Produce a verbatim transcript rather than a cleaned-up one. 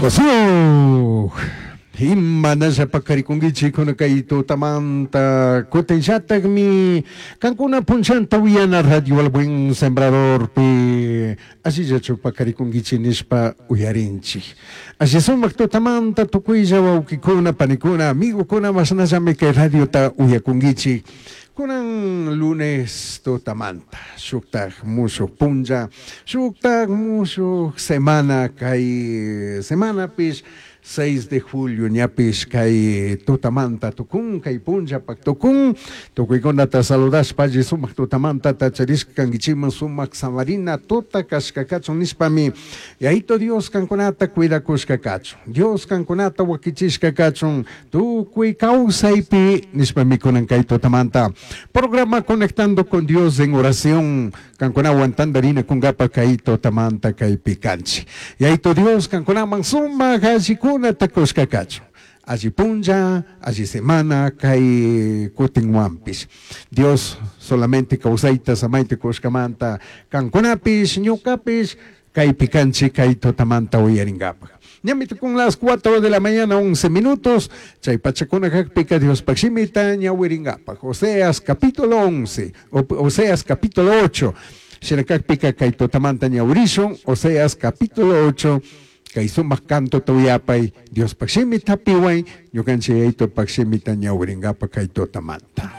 Wasiuh. Imanalla paqarikunkichik kay tutamanta kutinllatakmi kankuna punchanta uyana Radio El Buen Sembradorpi allillachu paqarikunkichik nishpa uyarinchik. Alli sumak tutamanta tukuylla wawqikuna, panikuna, amigokuna mashnallami kay radiota uyakunkichik. Kunan lunes tutamanta shuktak mushuq punlla, shuktak mushuq semana kay semanapish seis de julio ñapish kay tutamanta tukun, kay punllapak tukun, tukuykunata saludashpa alli sumak tutamanta tacharishka kankichikman sumak samarina tuta kashka kachun nishpami Yaito Dios kankunata cuidakushka kachun, Dios kankunata wakichishka kachun, tukuy kawsaypi nishpami kunan kay tutamanta. Programa Conectando con Dios en oración, kankunawan tandarina kunkapa kay tutamanta kaypi kanchik. Yaito Dios kankunaman sumak allikunata kushka kachun. Alli punlla, alli semana, kay kutinwanpish. Dios solamente kawsayta samayta kushkamanta kankunapish, ñukapish, kaypi kanchik kay tutamanta uyarinkapak. Ñami tukun las cuatro de la mañana, once minutos, chay pachakuna kakpika Diospaj shimita ñawirinkapak. Oseas capítulo once, Oseas capítulo ocho. Shina kakpika kay tutamanta ñawirishun, Oseas capítulo ocho, kay sumak canto tuyapay, Diospaj shimita piway, ñukanchik Yaitopaj shimita ñawirinkapak kay tutamanta.